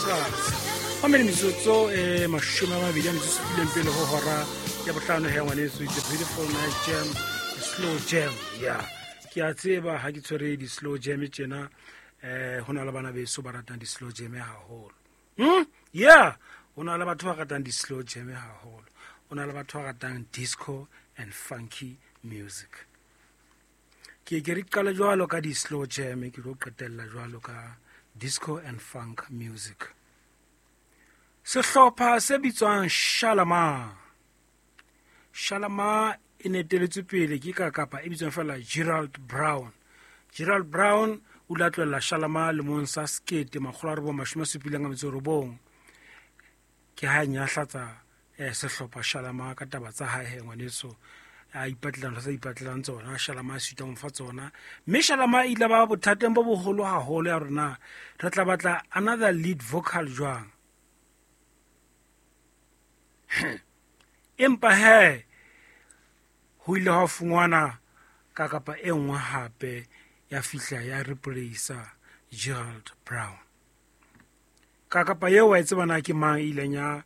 Extras. Mamele metsotso e 27 pele ho hora ya bohlano he ngwaneso. It's a beautiful nice jam, a slow jam. Yeah, ke a tseba ha ke tshwere di-slow jam tjena, ho na le bana beso ba ratang di-slow jam haholo. Yeah, ho na le batho ba ratang di-slow jam haholo, ho na le batho ba ratang disco and funky music. Ke ke re qale jwalo ka di-slow jam, ke tlo qetella jwalo ka disco and funk music. Sehlopha se bitswang Shalamar. Shalamar e ne eteletswe pele ke ka kapa e bitswang fela Gerald Brown. Gerald Brown o ile a tlohella Shalamar lemong sa 1979. Ke ha nyahlatsa sehlopha Shalamar ka taba tsa hae he ngwaneso, a ipatlela ntho tsa ipatlelang tsona. Shalamar a sitwa ho mo fa tsona, mme Shalamar e ile ba bothateng bo boholo haholo ya rona re tla batla another lead vocal jwang. Empa he ho ile ha fungwana ka kapa e nngwe hape ya fihla ya replace Gerald Brown. Ka kapa eo wa e tseba na ke mang e ileng ya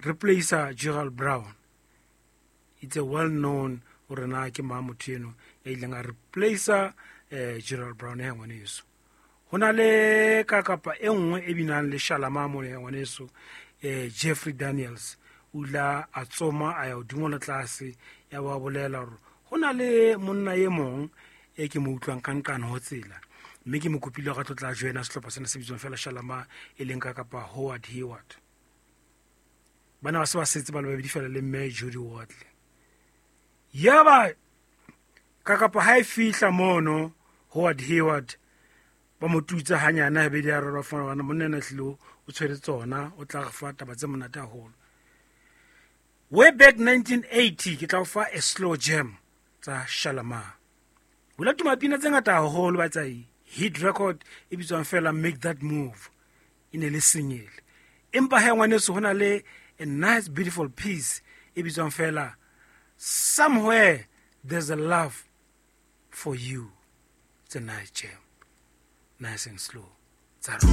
replace Gerald Brown? It's a well known hore na ke mang motho eno ya ileng a replace Gerald Brown ya ngwaneso. Ho na le ka kapa e nngwe e binang le Shalamar mona ya ngwaneso, Jeffrey Daniels. O ile a tsoma a ya hodimo le tlase, ya ba bolela hore ho na le monna e mong e ke mo utlwang ka nqane ho tsela, mme ke mo kopile hore a tlo tla joina sehlopha sena se bitswang fela Shalamar, e leng ka kapa Howard Hayward. Bana ba se ba setse ba le babedi fela le mme Judy Wardley. Yaba ka kapa ha e fihla mono Howard Hayward ba mo tutsa hanyane habedi a rera fana bana monna ena hlile o tshwere tsona, o tla re fa taba tse monate haholo. Way back 1980 ke tla o fa a slow jam tsa Shalamar. Ho la tuma pina tse ngata haholo ba tsa hit record e bitswang fela Make That Move, e ne le single. Empa he ngwaneso ho na le a nice beautiful piece e bitswang fela Somewhere There's a Love for You. It's a nice jam, nice and slow. Tsa rona.